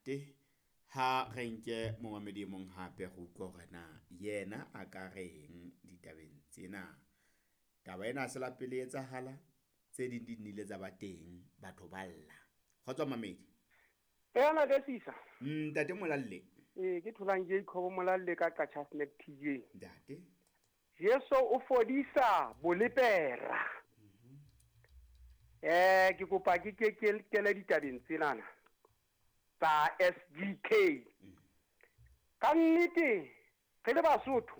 Ntate. Ha re nke momamedi e mong hape re utlwe hore na yena a ka reng ditabeng tsena. Taba ena ha se la pele e etsahala, tse ding di nnile tsa ba teng, batho ba lla. Kgotso mamedi. Ena ke sisa. Ntate Molalle. Ee, ke tholang Jacob Molalle ka Qacha's Nek TJ. Ntate. Jesu o fodisa bolepera. Ke kopa ke ke kele ditabeng tsenana tsa SGK. Ka nnete re le Basotho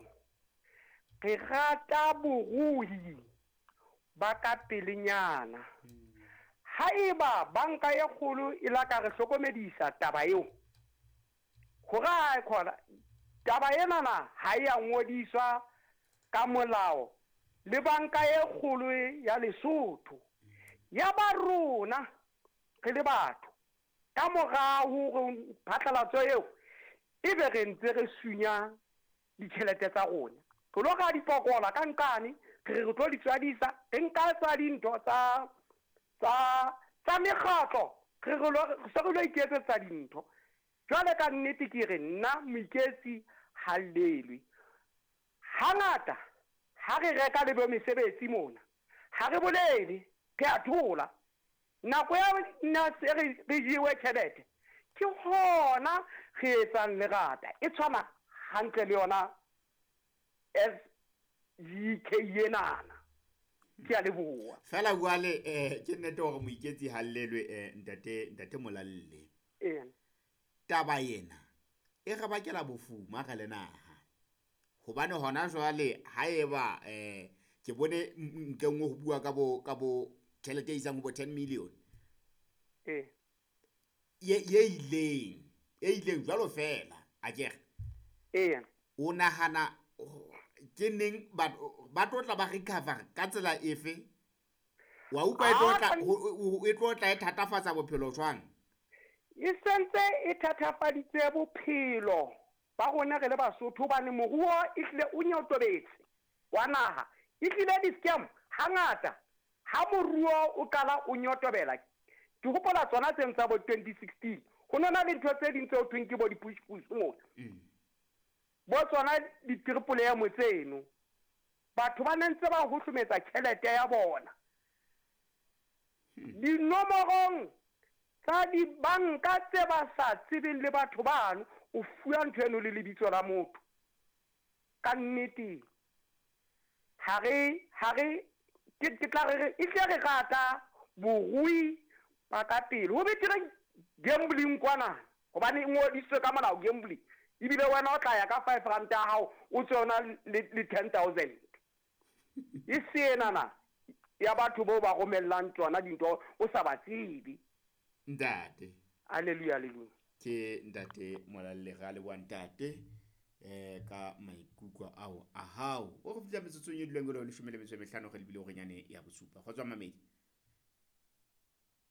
re rata borui ba ka pelenyana. Haeba banka e kgolo e la ka re hlokomedisa taba eo, hore ha khona taba enana ha e a ngodiswa ka molao le banka e kgolo ya Lesotho. Ya ba rona re le batho ka mora hore phatlalatso eo ebe re ntse re sunya ditjhelete tsa rona. Re lo ra dipokola ka nqane, re re tlo di tswadisa, re nka tsa dintho tsa tsa tsa mekgatlo, re re lo se re lo iketsetsa dintho. Jwale ka nnete ke re nna moiketsi ha llelwe. Hangata ha re reka le bo mesebetsi mona, ha re bolele, re a thola. Nako ya nna se re jewe tjhelete, ke hona re etsang lerata. E tshwana hantle le yona SGK enana. Ke a leboha. Fela jwale ke nnete hore moiketsi ha llelwe, ntate Molalle. Ee. Taba ena e re bakela bofuma re le naha. Hobane hona jwale haeba ke bone ntle nngwe ho bua ka bo ka bo tjhelete e isang ho bo 10 million. Ee. Ye ileng jwalo fela akere. Ee. O nahana ke neng ba tlo tla ba recover ka tsela efe? Wa utlwa e tlo tla e thatafatsa bophelo jwang? E sentse e thatafaditse bophelo ba rona re le Basotho, hobane moruo e hlile o nyotobetse wa naha. E hlile di-scam hangata ha moruo o qala o nyotobela. Ke hopola tsona tseng tsa bo 2016, ho nona le ntho tse ding tse ho thweng ke bo di-push push mona. Bo tsona di-triple M tseno. Batho ba ne ntse ba hohlometsa tjhelete ya bona. Dinomorong tsa dibanka tse ba sa tsebeng le batho bano, o fuwa ntho eno le lebitso la motho. Ka nnete ha re ke tla re e tle re rata borui ba ka pele. Ho betere gambling kwana, hobane e ngodisitswe ka molao gambling. Ebile wena o tla ya ka 5 rand ya hao, o tswe ona le 10,000. E senana ya batho bao ba romellang tsona dintho o sa ba tsebe. Ntate. Hallelujah, hallelujah. Ke ntate Molalle, re a leboha ntate ka maikutlo ao a hao. O re fihla metsotsong e dulang e le 15 re lebile horeng ya bosupa. Kgotso mamedi.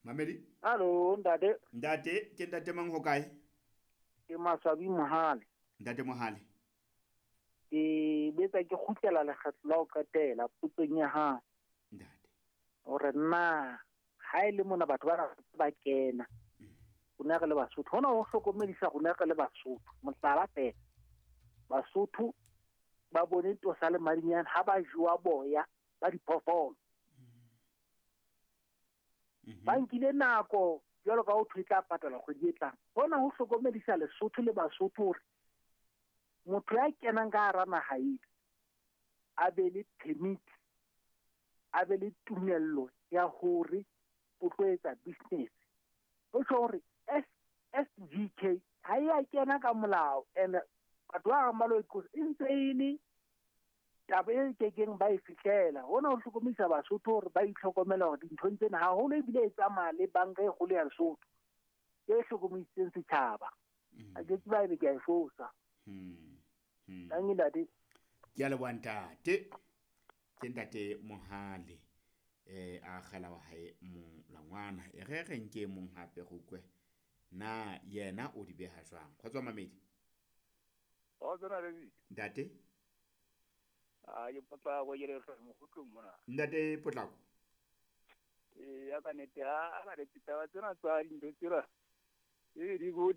Mamedi? Hallo ntate. Ntate, ke ntate mang ho kae? Ke Maswabi Mohale. Ntate Mohale. Ke betsa ke kgutlela lekgetlo la ho qetela potsong ya hao. Ntate. Hore na ha e le mona batho ba kena rona re le Basotho, hona ho hlokomedisa rona re le Basotho. Mohlala fela, Basotho ba bone tosa le madinyane ha ba jowa boya ba diphoofolo. Ba nkile nako jwalo ka ho thwe tla patala kgwedi e tlang. Hona ho hlokomedisa Lesotho le Basotho hore motho ya kenang ka hara naha ena a be le permit, a be le tumello ya hore o tlo etsa business. Ho tjho hore SGK ha e a kena ka molao, and batho ba bang ba lo e ntse e le taba e kekeng ba e fihlela. Hona ho hlokomedisa Basotho hore ba itlhokomela hore dinthong tsena haholo ebile e tsamaya le banka e kgolo ya Lesotho e hlokomedisitseng setjhaba. A ke tseba ebe ke a e fosa. Tanki ntate. Ke a leboha ntate. Ke ntate Mohale a kgela wa hae molangwana. E re re nke mong hape re utlwe na yena o di beha jwang. Kgotso mamedi. Ntate. A ke Potlako ke le mohutlong mona. Ntate Potlako. Ya ka nete ha ka re ditaba tsena tsa dintho tsena e di go